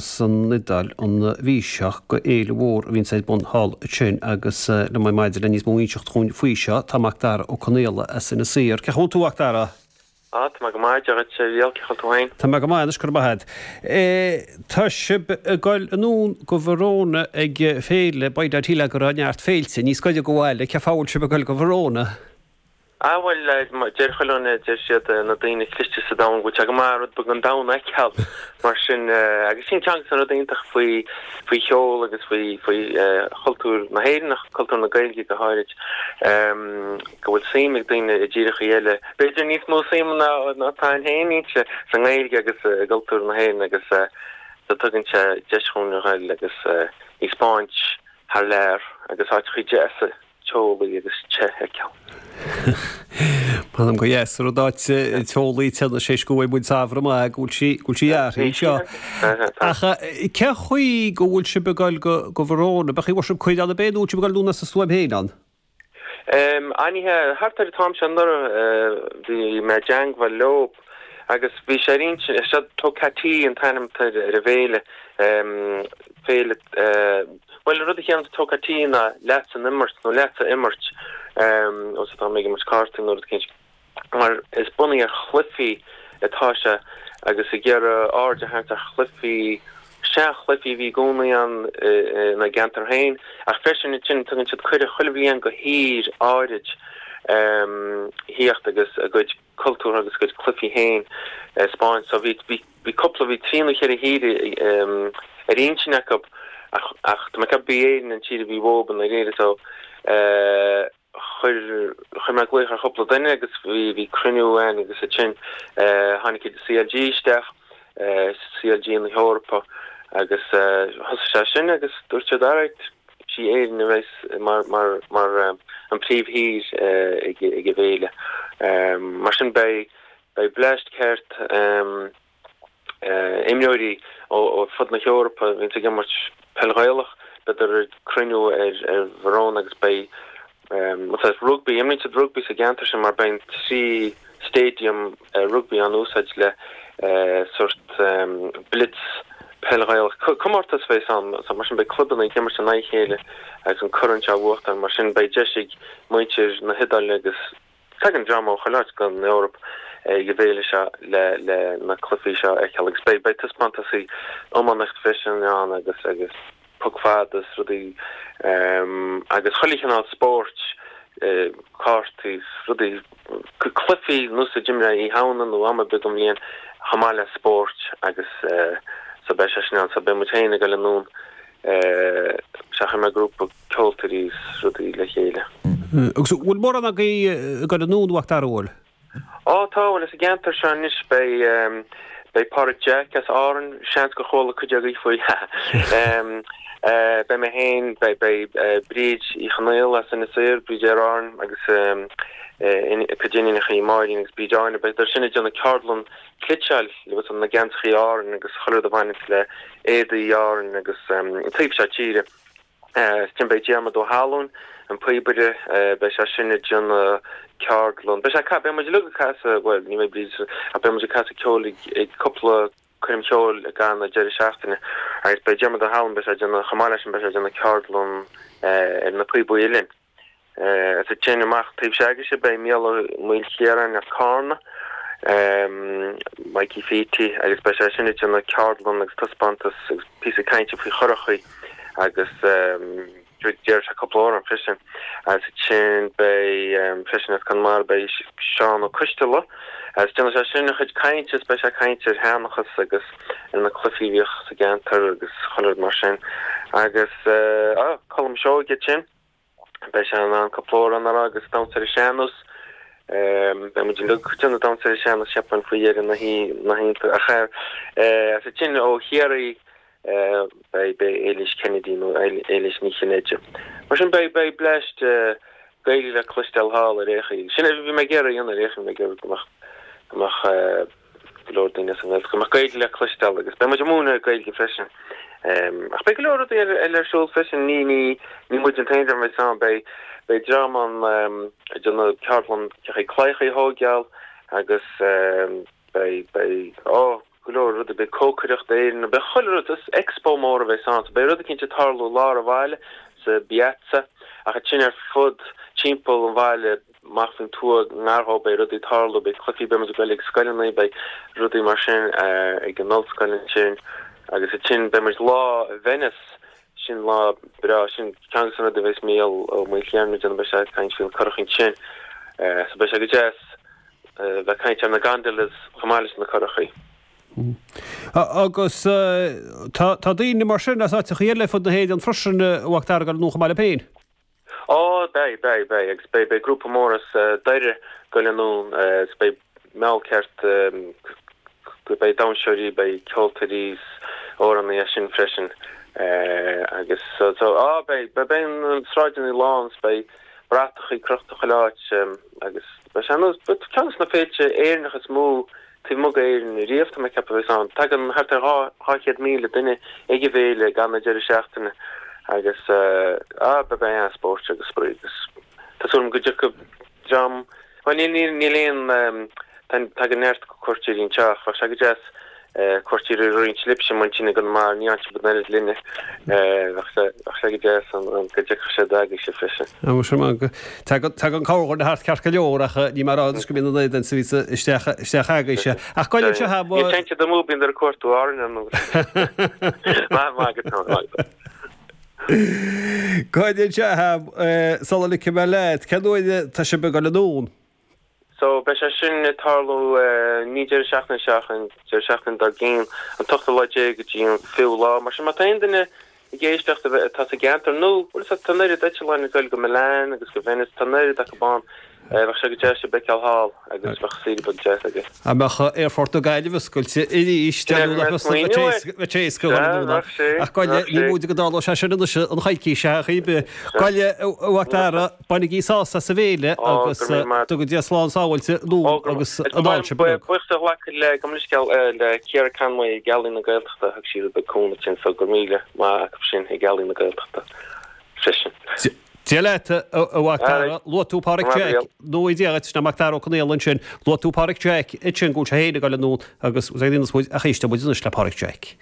San Iodáil an mhí seo go fhéile mhór a bhíonns ar bun thall ansin agus liom ar maidin le níos mó a inseacht dhúinn faoi seo tá Macdara Ó Conaola as Inis Oírr. Cén chaoi a bhfuil tú a Mhacdara? Á, tá mé go maith, Dia dhuit a Mhícheáil, cén chaoi a bhfuil tú féin? Tá mé go maith anois, go raibh maith agat. Tá sibh ag goil anonn go Verona ag féile, by dad shílfeá go raibh neart féilte níos gaire go bhaile, cén fáth a bhfuil sibh ag goil go Verona? Ah bhuel, deir chuile dhuine, deir siad, na daoine cliste sa domhan go bhfuil sé go maith rud beag den domhan a fheiceáil mar sin agus sin ceann de na rudaí iontach faoi, faoi cheol agus faoi, faoi chultúr na hÉireann ach cultúr na Gaeilge go háirid, go bhfuil suim ag daoine i dtíreachaí eile, b'fhéidir níos mó suim ná atá againn féin inti, sa nGaeilge agus i gcultúr na hÉireann agus so tugann sé deis dhúinn a ghoil agus í 'spáint thar lear agus áiteachaí deasa. teolaí agus te a fheiceáil. M'anam gur dheas an rud áit teolaí te anois éis go bhfuil muid samhradh maith go bhfuil sí go bhfuil sí athraithe anseo. Ach cén chaoi go bhfuil sibh ag goil go go Verona? B'é chaoi bhfuil sibh cuid ann ab é nó bhfuil sibh ag goil anonn as a stuaim féin ann? An ea, thart ar an t-am seo anuraidh bhí mé i dteangmháil leo agus bhí sé ar intinn, seo Toccati an t-ainm atá ar an bhféile, féile, Bhuel, an rud a chiallaíonn Toccati ná leatsa an imirt, nó leatsa imirt, ós atá mé ag imirt cártaí nó rud éicint, mar is bunaithe ar chluichí atá sé agus ag iarraidh aird a tharraingt ar chluichí, seanchluichí a bhí i gcónaí ann ina gceantar féin, ach freisin ansin tugann siad cuireadh chuile bhliain go thír áirid thíocht agus a gcuid cultúr agus a gcuid cluichí féin a 'spáint. So bhí, bhí, bhí cúpla, bhí trí nó cheithre thír ar intinn acu ach, ach tá mé ag ceapadh b'í Éirinn an tír a bhí uathu i ndáiríre so chuir, chuir mé glaoch ar chúpla duine agus bhí, bhí cruinniú ann agus ansin tháinig CLG isteach, CLG na hEorpa agus thosaigh sé sin agus dúirt siad alright, sí Éirinn a bheas mar, mar, mar an príomhthír ag, ag an bhféile. Mar sin beidh, beidh bleaist ceart imreoirí ó fud na hEorpa a bhíonns ag imirt peil Ghaelach, beidh ag cruinniú ar, ar Verona agus beidh rugbaí, imríonn siad rugbaí sa gceantar sin mar beidh an 3 stadium rugbaí á n-úsáid le sórt blitz peil Ghaelach. Comórtas a bheas ann, mar sin beidh clubanna ag imirt in aghaidh a chéile agus an corn seo á bhuachtáil. Mar sin beidh deis ag muintir na hIodáile agus tagann dream ó chuile áit den Eoraip ag an bhféile seo le le na cluichí seo a fheiceáil agus beidh beidh taispeántasaí iománaíocht freisin ann agus agus poc fada is rudaí agus chuile chineál spóirt, cártaí is rudaí, cluichí nós a d'imreofá Oíche Shamhna nó am ar bith den bhliain chomh maith le spóirt agus so beidh sé sin ann. So beidh muid féin ag dul anonn, sea chuir mé grúpa ceoltóirí is rudaí le chéile. Agus bhfuil mórán agaibh ag dul anonn, a Mhacdara, bhfuil? Á tá, bhuel as an gceantar seo anois beidh beidh Pádraig Jack as Árainn, seans gur chuala cuid agaibh faoi. Beidh mé féin, beidh beidh Bríd Uí Chonaola as Inis Oírr, Bríd Aer Árann agus a cuid iníonacha Máirín agus Bríd Áine, beidh siad sin ag déanamh ceardlann cniotáil le na geansachaí Árainn agus chuile rud a bhaineanns le éadaí Árainn agus an taobh seo tíre. Ansin beidh Diarmuid Ó hAlmhain, an píobaire, beidh sé sin ag déanamh ceardlann. Beidh sé, beidh muid uilig ag casadh, bhuel, ní bheidh Bríd, ach beidh muid ag casadh ceoil ag cúpla coirm cheoil i gcaitheamh na deireadh seachtaine. Agus beidh Diarmuid Ó hAlmhain, beidh sé ag déanamh, chomh maith leis sin, beidh sé ag déanamh ceardlann ar na píobaí uilleann. Is ansin amach taobh s'agaibhse beidh Mícheál Ó Maoilchiaráin as Cárna, Mikey Pheaty, agus beidh sé sin ag déanamh ceardlann agus taispeántas agus píosa cainte faoi churachaí agus déarfaidh sé cúpla amhrán freisin. Agus ansin beidh freisin as Conamara beidh Seán Ó Coisteala agus déanfaidh sé sin a chuid cainte is beidh sé ag caint ar sheanchas agus ar na cluichí a bhíodh sa gceantar agus chuile rud mar sin. Agus Colm Seoige ansin. Beidh sé in ann cúpla amhrán a rá agus damhsa ar an sean-nós. Beidh muid uilig ag déanamh damhsa ar an sean-nós, cheapfainn, faoi dheireadh na hoíche. Ach as ansin ó Chiarraí beidh beidh Éilís Kennedy nó Éilís Ní Chinnéide. Mar sin beidh beidh bleaist Gaeilge le cloisteáil thall ar aon chaoi. Sin a bhí mé ag iarraidh a dhéanamh ar aon chaoi, bhí mé ag iarraidh go mbeadh go mbeadh go leor daoine as an nGaeltacht, go mbeadh Gaeilge le cloisteáil agus beidh muid ag múineadh Gaeilge freisin. Ach beidh go leor rudaí eile ar siúl freisin, ní, ní, ní muid an t-aon dream a bheidh ann, beidh, beidh dream ann ag déanamh ceardlann cén chaoi claíochaí a thóigeáil agus beidh, beidh, ó! go leor rudaí, beidh cócaireacht Éireannach, beidh chuile rud, is expo mór a bheas ann, so beidh rud eicínt ag tarlú i lár an bhaile, sa bpiazza, ach ansin ar fud timpeall an bhaile, amach faoin tuath, ngar dhó, beidh rudaí ag tarlú, beidh cluichí, beidh muid ag goil ag scoileanna, beidh rudaí mar sin ag an ollscoil ansin, agus ansin beidh muid lá i Venice, sin lá breá, sin ceann de na rudaí a bheas Mícheál Ó Maoilchiaráin ag déanamh, beidh sé ag caint faoi na curachaí ansin, so beidh sé go deas. bheith ag caint ar na gondolas chomh maith leis na curachaí. Agus tá daoine mar sin as áiteachaí eile ar fud na hÉireann freisin, a Mhac Dara, ag dul anonn chomh maith libh féin. Ó, beidh, beidh, beidh. Agus beidh, beidh grúpa mór as Doire ag goil anonn agus beidh meall ceart, beidh damhsóirí, beidh ceoltóirí is amhránaithe as sin freisin. Agus so, so, á, beidh, beidh na sráideanna lán is beidh bratachaí crochta chuile áit agus beidh sé ar ceann de na féilte Éireannacha is mó taobh amuigh d'Éirinn riamh, tá mé ag ceapadh a bheas ann. Tagann thart ar 200,000 duine ag an bhféile gan an deireadh seachtaine agus ah beidh an-spórt agus spraoi agus tá súil agam go dtiocfaidh dream, bhuel níl níl aon Tagann neart cuairteoirí anseo ach bheadh sé go deas cuairteoirí a roinnt libhse muintir na gConamara, ní fhaigheann sibh an oiread linne. Bheadh sé bheadh sé go deas an go dtiocfadh siad agaibhse freisin. Á sin maith go Tagann tagann corrdhuine thart ceart go leor ach ní mar áit go mbíonn an oiread ann is a bhíos isteach isteach agaibhse. Ach goil anseo ha Níl téann siad amú bíonn ar cuartú Árainn ar ndóigh. Maith maith agat Tony, maith agat. Goil anseo ha sula ligfidh mé leat, cén uair atá sibh ag dul anonn? So, beidh sé sin ag tarlú ní deireadh seachtaine seo ach an deireadh seachtaine dár gcionn, an t-ochtú lá déag go dtí an fichiú lá. Mar sin, má tá aon duine ag éisteacht atá sa gceantar nó, bhuel, tá an oiread eitleáin ag goil go Milan agus go Venice, tá an oiread acu ann, bheadh sé go deas sibh a fheiceáil thall agus bheadh saoire beag deas agaibh. Dá mbeadh aerfort na Gaillimhe oscailte arís, bheadh sé éasca a dhul anonn ann. Ach goile, ní móide go dtarlóidh sé sin anois an choicís seo ar chaoi ar bith. Goile, a Mhac Dara. Bainigí sásamh as an bhféile agus dtuga Dia slán sábháilte anonn agus anall sibh uilig. Buíochas a ghlacadh le gabh mo leithscéal le Ciara Conway ag Ealaín na Gaeltachta, thug sí rud beag cúnamh dúinn so go raibh míle maith acu sin ag Ealaín na Gaeltachta freisin. Dia leat, a Mhac Dara. Luaigh tú Páraic Jack, nó Dia dhuit, sin é Mac Dara Ó Conaola ansin. Luaigh tú Páraic Jack ansin go bhfuil sé féin ag dul anonn agus ag aon muid ach éisteoidh muid anois le Páraic Jack.